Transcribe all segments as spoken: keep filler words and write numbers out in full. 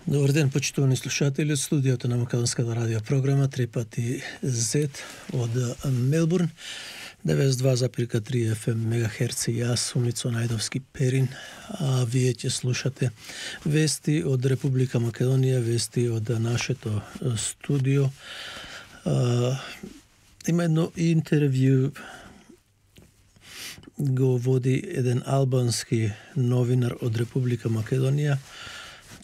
Добар ден, почитувани слушатели од студиото на Македонската радио програма три пати Z од Мелбурн, деветдесет и два запирка три еф ем мегахерци. Јас сум Ицо Најдовски Перин, а вие ќе слушате вести од Република Македонија, вести од нашето студио. А, има едно интервју го води еден албански новинар од Република Македонија,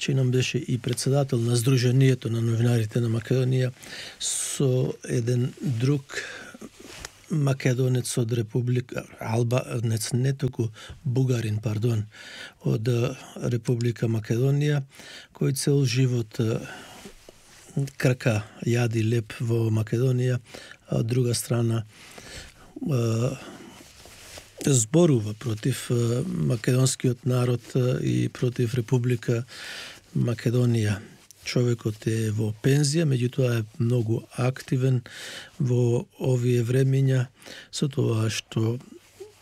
че нам беше и председател на Сдруженијето на новинарите на Македонија, со еден друг македонец од Република Албанец, не току бугарин, пардон, од Република Македонија, кој цел живот крка јади леп во Македонија, а од друга страна зборува против македонскиот народ и против Република Македонија. Човекот е во пензија, меѓутоа е многу активен во овие времиња со тоа што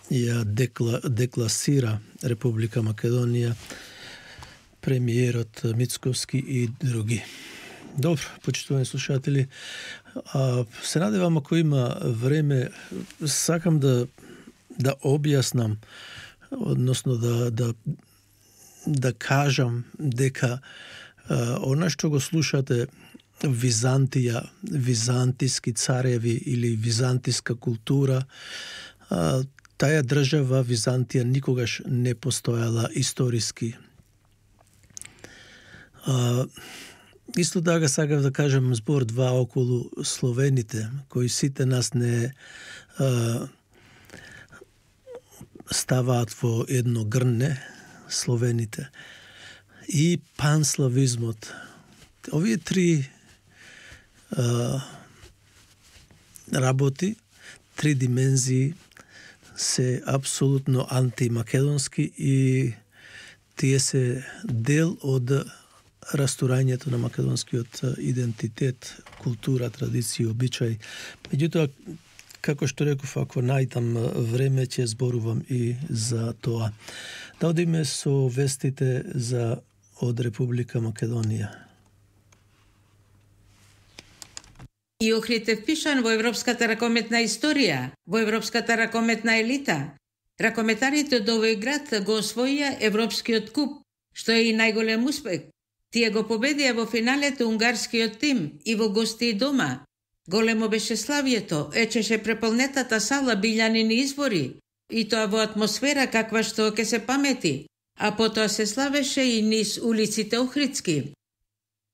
ја декла, декласира Република Македонија премиерот Мицковски и други. Добро, почитувани слушатели, а, се надевам ако има време, сакам да да објаснам, односно да да да кажам дека а, она што го слушате Византија, византиски цареви или византиска култура, а, таа држава Византија никогаш не постојала историски. А, исто така сакав да кажам збор два околу словените, кои сите нас не а, ставаат во едно грне, словените, и панславизмот. Овие три а, работи, три димензии се апсолутно антимакедонски и тие се дел од растурањето на македонскиот идентитет, култура, традиција, обичај. Меѓутоа, како што реков, ако најдам време, ќе зборувам и за тоа. Да одиме со вестите за од Република Македонија. И Охрид е впишан во европската ракометна историја, во европската ракометна елита. Ракометарите од овој град го освоија европскиот куп, што е и најголем успех. Тие го победија во финалето унгарскиот тим и во гости дома. Големо беше славието, ечеше преполнетата сала билјанини избори, и тоа во атмосфера каква што ќе се памети, а потоа се славеше и низ улиците Охридски.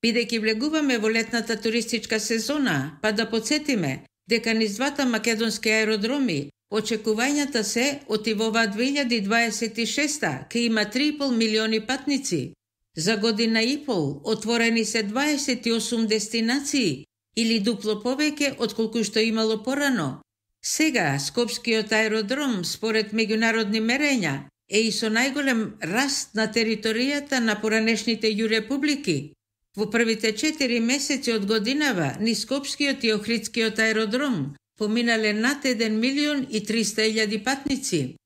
Бидејќи влегуваме во летната туристичка сезона, па да подсетиме дека низ двата македонски аеродроми очекувањата се од и во оваа две илјади дваесет и шеста ке има три и пол милиони патници. За година и пол отворени се дваесет и осум дестинации, или дупло повеќе отколку што имало порано. Сега, Скопскиот аеродром, според меѓународни мерења, е и со најголем раст на територијата на поранешните ју републики. Во првите четири месеци од годинава, низ Скопскиот и Охридскиот аеродром поминале над еден милион и триста илјади патници.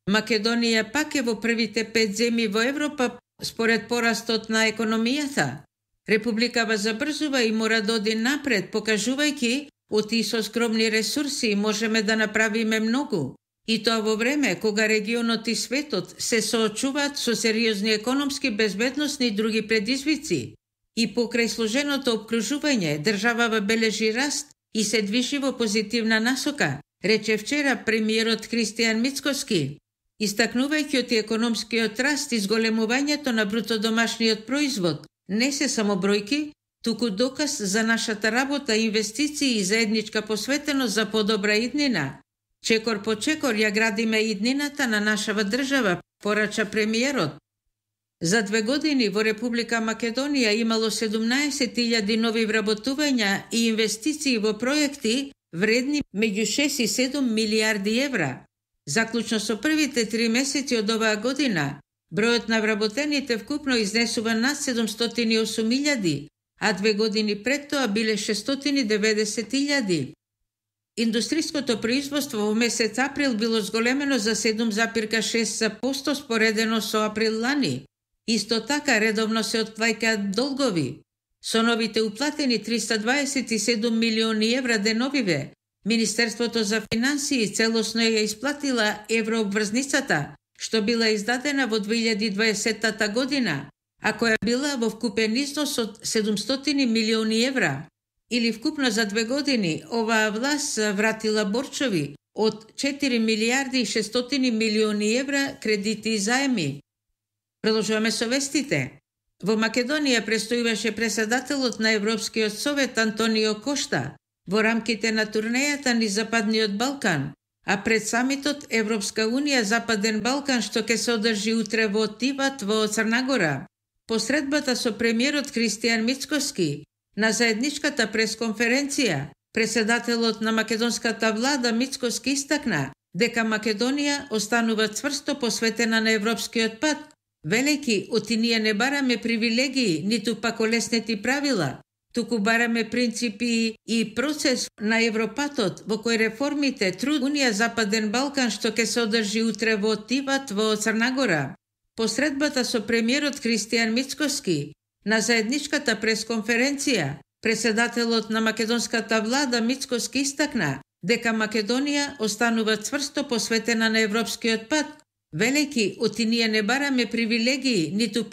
Македонија пак е во првите пет земји во Европа според порастот на економијата. Републикава забрзува и мора да оди напред, покажувајќи од и со скромни ресурси можеме да направиме многу. И тоа во време кога регионот и светот се соочуваат со сериозни економски, безбедносни и други предизвици. И покрај сложеното обкружување, државава бележи раст и се движи во позитивна насока, рече вчера премиерот Христијан Мицковски, истакнувајќи од економскиот раст и зголемувањето на брутодомашниот производ не се само бројки, туку доказ за нашата работа, инвестиции и заедничка посветеност за подобра иднина. Чекор по чекор ја градиме иднината на нашава држава, порача премиерот. За две години во Република Македонија имало седумнаесет илјади нови вработувања и инвестиции во проекти вредни меѓу шест и седум милијарди евра. Заклучно со првите три месеци од оваа година, бројот на вработените вкупно изнесува над седумстотини и осум илјади, а две години пред тоа биле шестстотини и деветдесет илјади. Индустриското производство во месец април било зголемено за седум запирка шест проценти споредено со април лани. Исто така редовно се отплаќаат долгови. Со новите уплатени триста дваесет и седум милиони евра деновиве, Министерството за финансии целосно ја исплатила еврообврзницата, што била издадена во две илјади и дваесетта година, а која била во вкупен износ од седумстотини милиони евра. Или вкупно за две години оваа власт вратила борчови од четири милијарди и шестстотини милиони евра кредити и заеми. Продолжуваме со вестите. Во Македонија престојуваше председателот на Европскиот совет Антонио Кошта во рамките на турнејата низ Западниот Балкан, а пред самитот Европска унија Западен Балкан што ќе се одржи утре во Тиват во Црна-Гора. Посредбата со премиерот Кристијан Мицкоски на заедничката пресконференција, председателот на македонската влада Мицкоски истакна дека Македонија останува цврсто посветена на европскиот пат, велејќи оти ние не бараме привилегии, ниту пак олеснети правила, туку бараме принципи и процес на Европатот во кој реформите труд Унија Западен Балкан што ќе се одржи утре во Тиват во Црна-Гора. Посредбата со премиерот Кристијан Мицкоски на заедничката пресконференција, председателот на македонската влада Мицкоски истакна дека Македонија останува цврсто посветена на европскиот пат, велејќи оти ние не бараме привилегии, ниту пак